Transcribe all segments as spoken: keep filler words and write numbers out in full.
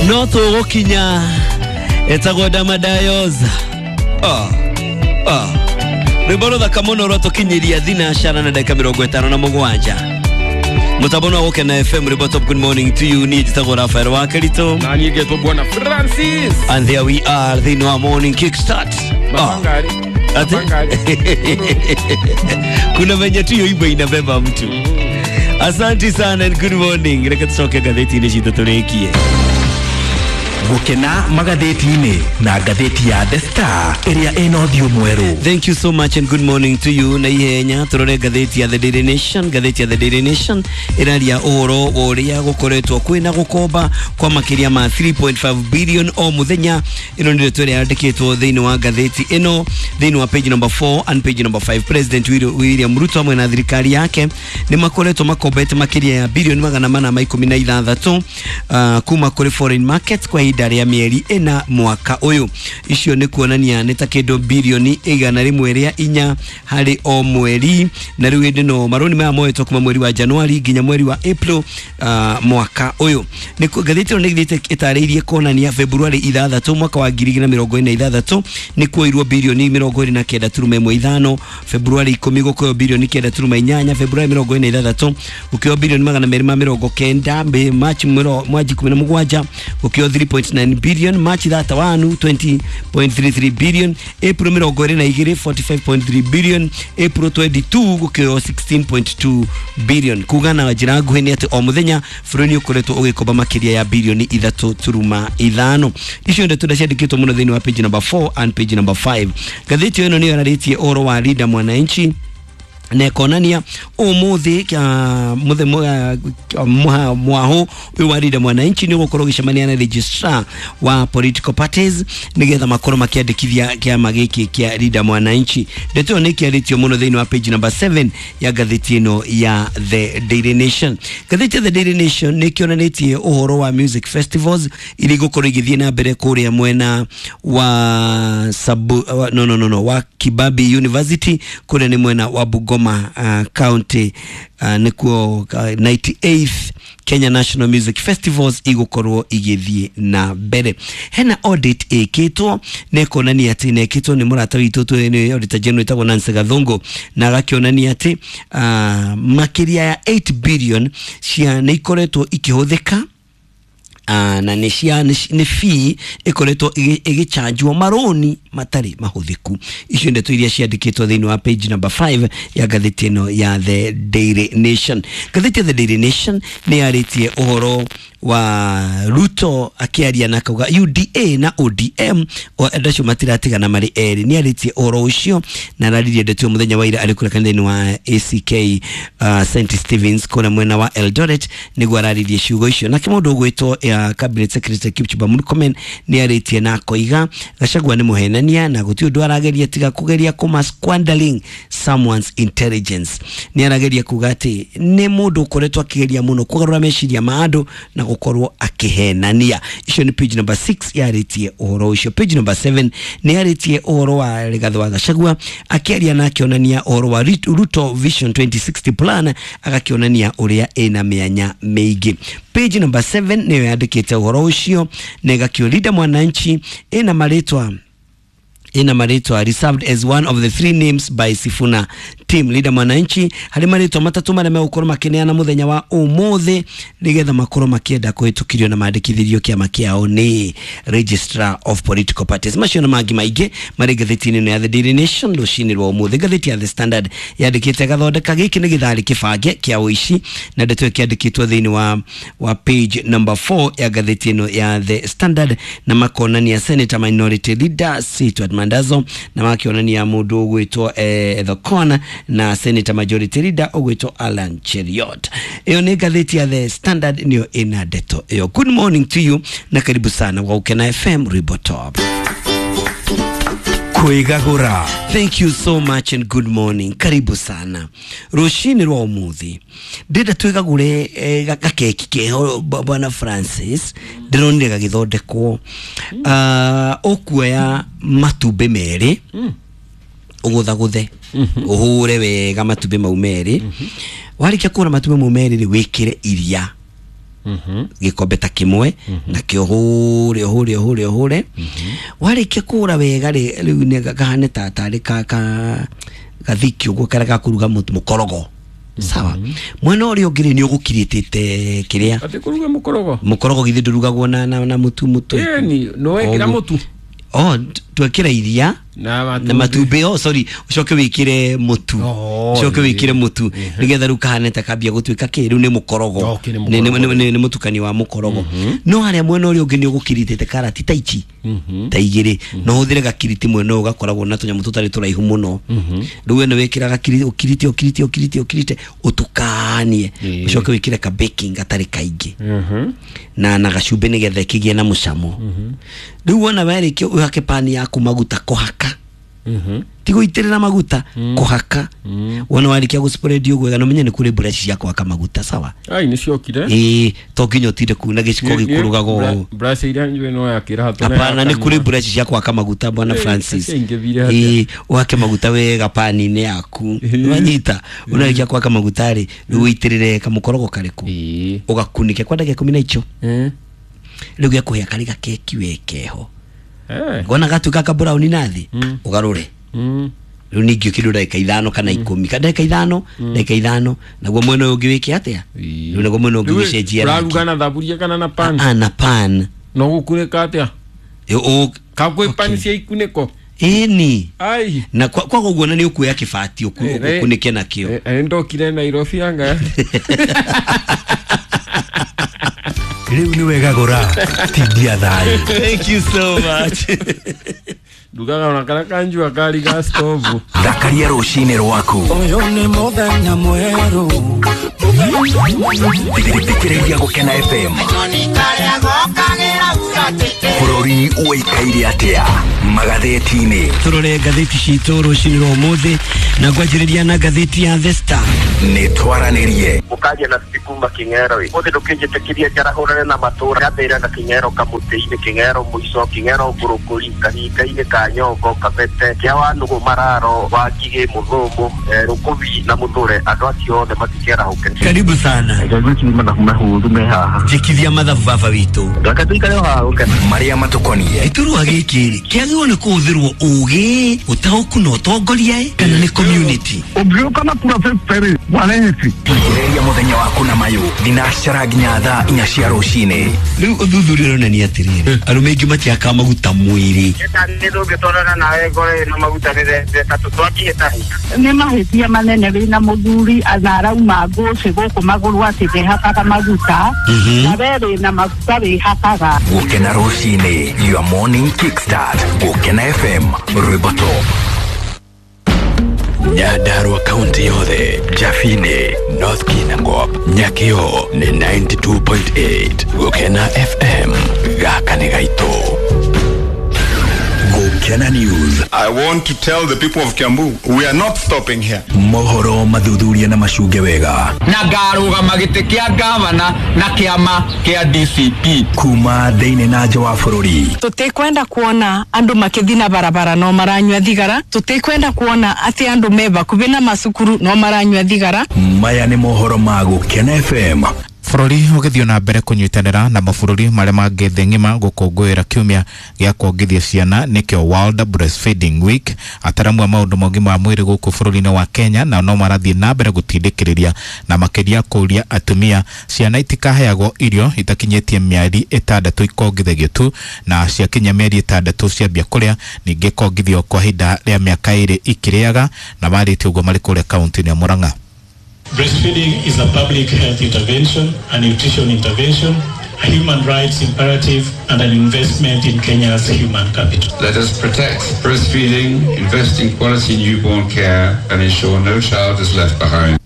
No tũgũkinya etagwo Damadayos. Ah ah rwĩmbo rũthaka mũno rwatũkinyĩria thinacara na ndagĩka mĩrongo ĩtano na mũgwanja. Mũtambo no Gũkena F M rwĩmbo top. Good morning to you. Niĩ njĩtagwo Rafael wa Kerito na niĩ ngetwo Bwana Francis, and there we are thĩinĩ wa Morning Kickstart. Ah. Ati? Kuna venye tu hiyo imbo inabeba mtu. Asante sana and good morning. Reke tucoke ngathĩti-inĩ citũ tũrĩkie. Gukena magathĩti-inĩ na ngathĩti ya The Star ĩrĩa ĩna ũthiũ mwerũ. Thank you so much and good morning to you. Na ihenya turore ngathĩti ya The Daily Nation. Ngathĩti ya The Daily Nation ĩraria ũhoro wa ũrĩa gũkoretwo kwĩna gũkomba kwa makĩria ma three point five billion o mũthenya. Ĩno nĩ ndeto ĩrĩa yandĩkĩtwo thĩinĩ wa ngathĩti ĩno thĩinĩ wa page number four and page number five. President William Ruto hamwe na thirikari yake nĩ makoretwo makombete makĩria ya bilioni magana mana ma ikũmi na ithathatũ uh, kuma kũrĩ foreign markets kwa ihinda rĩa mĩeri ĩna mwaka ũyũ. Icio nĩ kuonania nĩ ta kĩndũ bilioni igana rĩmwe rĩa inya harĩ o mweri, na rĩu hĩndĩ no marũni maya moetwo kuma mweri wa Januari nginya mweri wa April uh, mwaka ũyũ. Nĩ ngathĩti ĩno nĩ ĩthiĩte ĩtarĩirie kuonania February ithathatũ mwaka wa ngiri igĩrĩ na mĩrongo ĩna na ithathatũ nĩ kuoirwo bilioni mĩrongo ĩrĩ na kenda turuma ĩmwe ithano, February ikũmi gũkĩoywo bilioni kenda turuma inyanya, February mĩrongo ĩna na ithathatũ gũkĩoywo bilioni magana merĩ ma mĩrongo kenda, March mwaji ikũmi na mũgwanja gũkĩoywo three point nine billion, March thirty-one twenty point three three billion, April mĩrongo ĩrĩ na igĩrĩ forty-five point three billion, April twenty-two gũkĩoywo sixteen point two billion. Kuga na njĩra nguhĩ nĩ atĩ o mũthenya bũrũri nĩ ũkoretwo ũgĩkomba makĩria ya bilioni ithatũ turuma ithano. Icio ndeto ciandĩkĩtwo mũno thĩinĩ wa page number four and page number five. Ngathĩti ĩno nĩyo yararĩtie ũhoro wa Linda Mwananchi na ĩkonania ũmũthĩ mwaho ũyũ wa Linda Mwananchi nĩ ũgũkorwo ũgĩcemania na registrar wa political parties nĩgetha makorwo makĩandĩkithia kĩama gĩkĩ kĩa Linda Mwananchi. Ndeto ĩyo nĩ ĩkĩarĩtio mũno thĩinĩ wa page number seven ya ngathĩti ĩno ya The Daily Nation. Ngathĩti ya The Daily Nation nĩ ĩkĩonanĩtie ũhoro wa music festivals iria igũkorwo igĩthiĩ na mbere kũrĩa mwena wa Sabu, no, no, no, no, wa Kibabi University kũrĩa nĩ mwena wa Bungoma Uh, County uh, nĩkuo uh, ninety-eighth Kenya National Music Festivals igũkorwo igĩthiĩ na mbere. Hena audit ĩkĩtwo na ĩkonania atĩ na ĩkĩtwo nĩ mũrata witũ nĩ auditor general ĩtagwo Nancy Gathungu, na agakĩonania atĩ uh, makĩria ya eight billion cia nĩ ikoretwo ikĩhũthĩka Uh, na nĩ cia nĩ fee ĩkoretwo ĩgĩchanjwo marũni matarĩ mahũthĩku. Icio ndeto iria ciandĩkĩtwo thĩinĩ wa page number five ya ngathĩti ĩno ya The Daily Nation. Ngathĩti ya The Daily Nation nĩ yarĩtie ũhoro wa Ruto akĩaria na akauga U D A na O D M andũ acio matiratigana marĩ erĩ. Nĩ arĩtie ũhoro ũcio na araririe ndeto mũthenya wa ira arĩ kũrĩa kanitha-inĩ wa A C K uh, Saint Stevens kũrĩa mwena wa Eldoret nĩguo araririe ciugo icio. Nake mũndũ ũgwĩtwo ya Cabinet Secretary Kipchumba Murkomen nĩ arĩtie na akoiga Gachagua nĩ mũhenania na gũtirĩ ũndũ arageria tiga kũgeria kũma squandering someone's intelligence. Nĩ arageria kuga atĩ nĩ mũndũ ũkoretwo akĩgeria mũno kũgarũra meciria ma andũ na gũkorwo akĩhenania. Icio nĩ page number six yarĩtie ũhoro ũcio. Page number seven nĩ yarĩtie ũhoro wa Rigathi wa Gachagua akĩaria na akĩonania ũhoro wa Ruto Vision twenty sixty plan, agakĩonania ũrĩa ĩna mĩanya mĩingĩ. Page number seven nĩyo yandĩkĩte ũhoro ũcio na ĩgakĩo Linda Mwananchi ĩna marĩtwa ina marĩtwa reserved as one of the three names by Sifuna team. Linda Mwananchi harĩ marĩtwa matatũ marĩa megũkorwo makĩneana mũthenya wa ũmũthĩ nĩgetha makorwo makĩenda kũhĩtũkĩrio na mandĩkithĩrio kĩama kĩao nĩ Registrar of Political Parties. Macio na mangĩ maingĩ marĩ ngathĩti-inĩ ĩno ya The Daily Nation rũcinĩ rwa ũmũthĩ. Ngathĩti ya The Standard yandĩkĩte gathondeka gĩkĩ nĩ gĩtharĩ kĩbange kĩa ũici, na ndeto ĩkĩandĩkĩtwo thĩinĩ wa, wa page number four ya ngathĩti ĩno ya The Standard, na makonania Senator Minority Leader Sitwat Mandazo na makionania mũndũ ũgwĩtwo eh, The Corner na Senator Majority Leader ũgwĩtwo Alan Cheriot. Ĩyo nĩ ngathĩti ya The Standard nĩyo ĩna ndeto ĩyo. Good morning to you na karibu sana kwa Gukena F M Rwĩmbo Top. Kwĩgagũra. Thank you so much and good morning. Karibu sana. Rũcinĩ rwa ũmũthĩ ndĩrenda twĩgagũre eh, gakeki keho Bwana Francis ndĩronire gagĩthondekwo. Uh, ũkuoya matumbĩ merĩ ũgũthagũthe ũhũre wega matumbĩ mau merĩ. Warĩkia kũhũra matumbĩ mau merĩ rĩ wĩkĩre iria Gikombe ta kimwe na kio hure hure hure hure. Warikia kura wega ri riu ni gahane ta tari ka ka gathiki uguo kara gakuruga mutu mukorogo. Sawa. Mwena uri ungiri ni ugukiritite kiria. Ati kuruga mukorogo. Mukorogo githi ndurugagwo na na, na mutu mutu. Eh ni no wekira mutu. Oh, twekira iria na na matumbi. Oh sorry, ucoke wikire mutu. Ucoke wikire mutu nigetha riu kahane ta kambia gutuika ki riu ni mukorogo. Ni ni mutukani wa mukorogo. No haria mwena uri ungi ni ugukiritite karati ta ici ta igiri no huthire gakiriti mwena ugakoragwo na tunyamu tutari turaihu muno. Riu we ni wikira gakiriti ukirite ukirite ukirite ukirite utukanie ucoke wikire ka baking gatari kaingi na na gacumbi nigetha kigie na mucamo. Riu wona warikia uhake pani yaku maguta kuhaka. Mhm. Tigo itirira maguta kuhaka. Wona warikia guspread uguo wega no menye ni kuri brush cia kuhaka maguta sawa. Ai ni ciokire. Eh to nginya utinde kuna giciko gikurugagwo. Brush iria njwe no yakira hatone. Hapana ni kuri brush cia kuhaka maguta bwana Francis. Eh uhake maguta wega pani-inĩ yaku. Wanyita unarikia kuhaka maguta ri riu uitirire kamukorogo kariku. Ugakunike kwa ndagika ikumi na icho. Eh. Riu gekuhia kari gakeki wekeho. Eh. Ngona gatuika ka brown nathi ugarure. Mm. Riu ningi kindu ndagika ithano kana ikumi. Ka ndagika ithano, ndagika ithano naguo mwena uyu ungi wike atia? Riu naguo mwena ungi wicenjia. Uraruga na thaburia kana na pan? Ah na pan. No gukunika atia? O ka kwi pan cia ikuniko. Eni. Ai. Na kwa kwa guo na ni ukuya kibati ukunike nakio. Eh ndokire Nairobi anga. Riu ni wega gora tindia thayo. Thank you so much. Ndugaga ona kana kanjua kari ga stove. Thakaria rucini rwaku. Uyu ni muthenya mweru. Thikĩrĩria Gũkena F M. Bũrũri ũikaire atĩa magathĩti-inĩ. Turore ngathĩti citũ rũcinĩ rwa ũmũthĩ na ngwanjĩrĩria na ngathĩti ya The Star. Nĩ twaranĩrie mũkaria na kuma King'ero ũmũthĩ ndũkĩnjĩtĩkĩria njarahũrane na matũra gathĩra na King'ero kamũtĩ-inĩ King'ero mũico King'ero ngũrũkũri kahinga-inĩ ka Nyongo Kabete kĩa Wanũgũ Mararo wa Ngigĩ Mũthũmũ Rũkũbi na Mũthũre andũ acio othe matikĩarahũke. Karibu sana. Njĩkithia mathabu baba witũ. Marĩa matũkonie. Gĩturwa gĩkĩ rĩ kĩagĩrĩirwo nĩ kũhũthĩrwo ũgĩ ũtaũku na ũtongoria kana nĩ community. Ũngĩũka na kura fifty waneti. Thikĩrĩria mũthenya waku na mayũ thinacara nginya thaa inya cia rũcinĩ. Rĩu ũthuthuria ũronania atĩrĩrĩ arũme aingĩ matiakaga maguta mwĩrĩ. Nĩ tũngĩtwarana nawe ngoro ĩno maguta Nĩ mahĩtia manene wĩna mũthuri na arauma ngũcĩ gũkũ magũrũ atĩ ndehakaga maguta na we wĩna maguta wĩhakaga. Gũkena rũcinĩ, your morning kickstart. Gũkena F M, rwĩmbo top. Nyandarua kaunti yothe, Jafine, North Kinangop, Nyakio ni ninety-two point eight. Gũkena F M, gaka nĩ gaitũ. Gũkena News. I want to tell the people of Kiambu, we are not stopping here. Mohoro mathuthuria na macunge wega. Na ngarũgama gĩtĩ kĩa gavana na kĩama kĩa D C P. Kuma thĩinĩ na nja wa bũrũri. Tũtikwenda kuona andũ makĩthiĩ na barabara no maranyua thigara. Tũtikwenda kuona atĩ andũ me bakubi na macukuru no maranyua thigara. Maya nĩ mohoro ma Gũkena F M. Bũrũri ũgĩthiĩ na mbere kũnyitanĩra na mabũrũri marĩa mangĩ thĩ ng'ima gũkũngũĩra kiumia gĩa kuongithia ciana nĩkĩo World Breastfeeding Week. Ataramu a maũndũ ma ũgima wa mwĩrĩ gũkũ bũrũri-inĩ wa Kenya nao no marathiĩ na mbere gũtindĩkĩrĩria na makĩria kũũria atumia ciana itikaheagwo irio itakinyĩtie mĩeri ĩtandatũ ikongithagio tu, na ciakinya mĩeri ĩtandatũ ciambia kũrĩa ningĩ kongithio kwa ihinda rĩa mĩaka ĩrĩ ikĩrĩaga, na marĩtie ũguo marĩ kũrĩa kaunti-inĩ ya Murang'a. Breastfeeding is a public health intervention, a nutrition intervention, a human rights imperative, and an investment in Kenya's human capital. Let us protect breastfeeding, invest in quality newborn care, and ensure no child is left behind.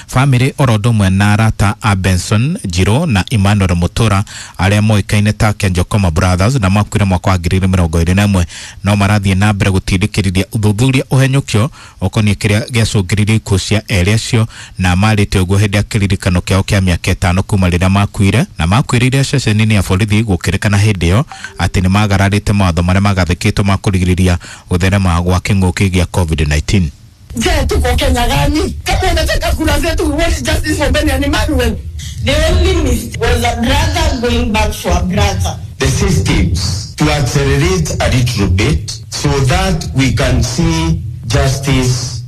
Family oro ũndũ ũmwe na arata a Benson Njiro na Emmanuel Mutura arĩa moĩkaine ta Kenjokoma Brothers na makuire mwaka wa ngiri igĩrĩ mĩrongo ĩrĩ na ĩmwe no marathiĩ na mbere gũtindĩkĩrĩria ũthuthuria ũhenyũkio ũkoniĩ kĩrĩa gĩacũngĩrĩirie ikuũ cia erĩ acio, na marĩte ũguo hĩndĩ ya kĩririkano kĩao kĩa mĩaka ĩtano kuma rĩrĩa makuire, na makuĩrĩire ceceni-inĩ ya borithi gũkĩrĩkana hĩndĩ ĩyo atĩ nĩ magararĩte mawatho marĩa magathĩkĩtwo ma kũrigĩrĩria gũtherema gwa kĩng'ũki gĩa COVID nineteen. Je, tuko Kenya gani? Kama unataka kura zetu, we want justice for Ben and Emmanuel. The only mistake was a brother going back for a brother. The systems to accelerate a little bit so that we can see justice.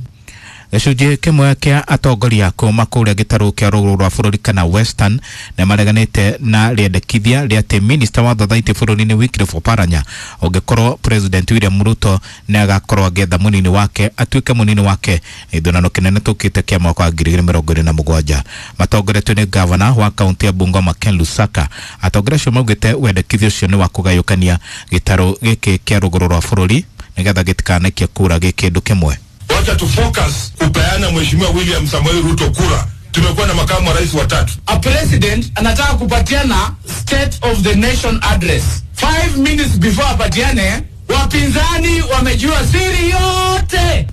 Gĩcunjĩ kĩmwe kĩa atongoria kuma kũrĩa gĩtarũ kĩa rũgũrũ rwa bũrũri kana Western nĩ mareganĩte na rĩendekithia rĩa atĩ minista wa thothaitĩ bũrũri-inĩ Wycliffe Oparanya ũngĩkorwo President William Ruto nĩ agakorwo agĩetha mũnini wake atuĩke mũnini wake gĩthurano kĩnene tũkĩte kĩa mwaka wa ngiri igĩrĩ mĩrongo ĩrĩ na mũgwanja. Matongoretio nĩ gavana wa kaunti ya Bungoma Ken Lusaka. Atongoria acio maugĩte wendekithia ũcio nĩ wa kũgayũkania gĩtarũ gĩkĩ kĩa rũgũrũ rwa bũrũri nĩgetha gĩtikanaikie kura gĩ kĩndũ kĩmwe. Wacha tu focus kupeana Mheshimiwa William Samoei Ruto kura. Tumekuwa na makamu wa rais watatu. A president anataka kupatiana state of the nation address. Five minutes before apatiane, wapinzani wamejua siri yote.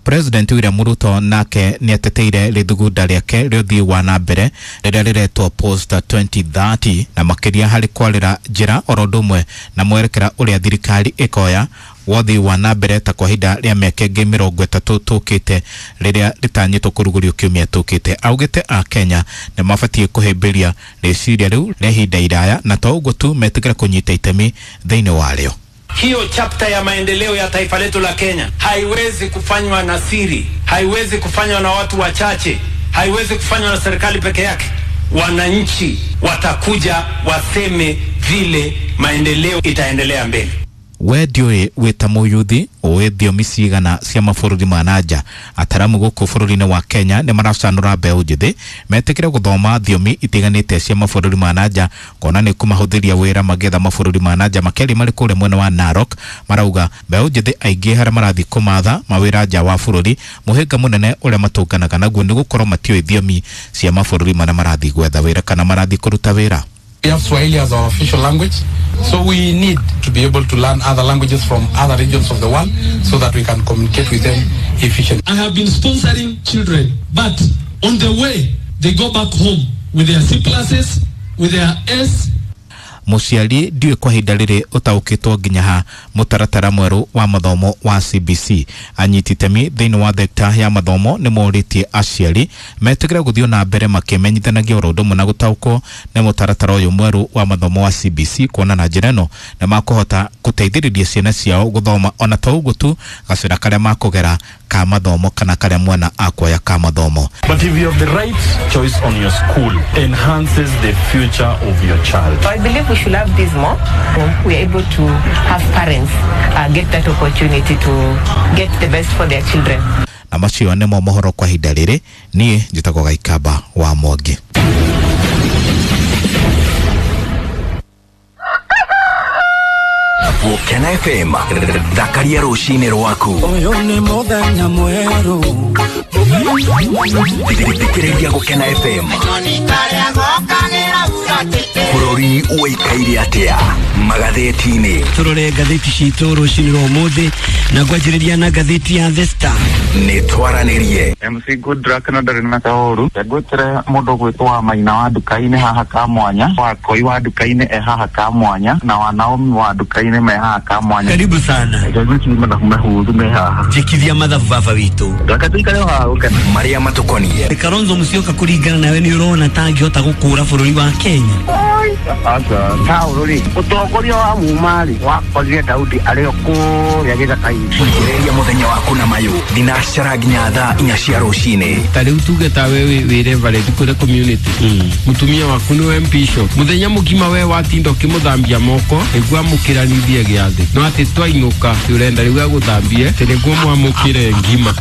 President William Ruto nake nĩ ateteire rĩthugunda rĩake rĩa ũthii wa na mbere rĩrĩa rĩretwo Post twenty thirty na makĩria harĩ kwarĩra njĩra oro ũndũ ũmwe na mwerekera ũrĩa thirikari ĩkoya wothi wa na mbere ta kwa ihinda rĩa mĩaka ĩngĩ mĩrongo ĩtatũ tũkĩte rĩrĩa rĩtanyĩtwo kũrugũrio kiumia tũkĩte. Augĩte a Kenya nĩ mabatiĩ kũhĩmbĩria rĩciria rĩu rĩa ihinda iraya na to ũguo tu metĩkĩre kũnyita itemi thĩinĩ warĩo. Hiyo chapter ya maendeleo ya taifa letu la Kenya haiwezi kufanywa na siri, haiwezi kufanywa na watu wachache, haiwezi kufanywa na serikali peke yake. Wananchi watakuja waseme vile maendeleo itaendelea mbele. We ndiũĩ wĩ ta mũyuthi ũĩ thiomi cigana cia mabũrũri ma nanja. Ataramu gũkũ bũrũri-inĩ wa Kenya nĩ maracanũra mbeũ njĩthĩ metĩkĩre gũthoma thiomi itiganĩte cia mabũrũri ma nanja kuona nĩ kũmahũthĩria wĩra magĩetha mabũrũri ma nanja makĩria marĩ kũrĩa mwena wa Narok. Marauga mbeũ njĩthĩ aingĩ harĩa marathiĩ kũmatha mawĩra nja wa bũrũri mũhĩnga mũnene ũrĩa matũnganaga naguo nĩ gũkorwo matiũĩ thiomi cia mabũrũri marĩa marathiĩ gwetha wĩra kana marathiĩ kũruta wĩra. We have Swahili as our official language, so we need to be able to learn other languages from other regions of the world so that we can communicate with them efficiently. I have been sponsoring children, but on the way, they go back home with their C pluses, with their S. Mũciari ndiũĩ kwa ihinda rĩrĩ ũtaũkĩtwo nginya ha mũtaratara mwerũ wa mathomo wa C B C. Anyiti itemi thĩinĩ wa thekta ya mathomo nĩ morĩtie aciari metĩkĩre gũthiĩ na mbere makĩmenyithanagia oro ũndũ ũmwe na gũtaũkwo nĩ mũtaratara ũyũ mwerũ wa mathomo wa C B C kuona na njĩra ĩno nĩ makũhota gũteithĩrĩria ciana ciao gũthoma ona to ũguo tu gacĩra karĩa makũgera ka mathomo kana karĩa mwana akuoya ka mathomo. But if you have the right choice on your school, enhances the future of your child. I believe we should have this more. We are able to have parents uh, get that opportunity to get the best for their children. Na macio nĩmo mohoro kwa ihinda rĩrĩ. Niĩ njĩtagwo Gaikamba wa Mwangi. Gũkena F M thakaria rũcinĩ rwaku. Ũyũ nĩ mũthenya mwerũ. Thikĩrĩria Gũkena F M. Bũrũri ũikaire atĩa magathĩti-inĩ. Tũrore ngathĩti citũ rũcinĩ rwa ũmũthĩ na ngwanjĩrĩria na ngathĩti ya The Star. Nĩ twaranĩrie M C Goodluck na ndarĩ na kaũru. Ngwĩtĩre mũndũ gwĩtwo wa Maina wa nduka-inĩ haha ka mwanya, wa Koi wa nduka-inĩ e haha ka mwanya, na wa Naomi wa nduka-inĩ me haha ka mwanya. Karibu sana. Njĩkithia mathabu baba witũ. Marĩa matũkoniĩ. Kalonzo Musyoka kũringana nawe nĩ ũrona ta angĩhota gũkũra bũrũri wa Kenya? Saũlũ rĩ, ũtongoria wa muma rĩ wakorire Daudi arĩ o kũrĩa gĩthaka-inĩ. Ambĩrĩria mũthenya waku na mayũ thinacara nginya thaa inya cia rũcinĩ. Ta rĩu tuge ta we wĩ reverend kũrĩa community, mũtumia waku nĩwe bishop, mũthenya mũgima we watinda ũkĩmũthambia moko nĩguo amũkĩranithie gĩathĩ, no atĩ twainũka ũrenda rĩu agũthambie atĩ nĩguo mwamũkĩre ngima.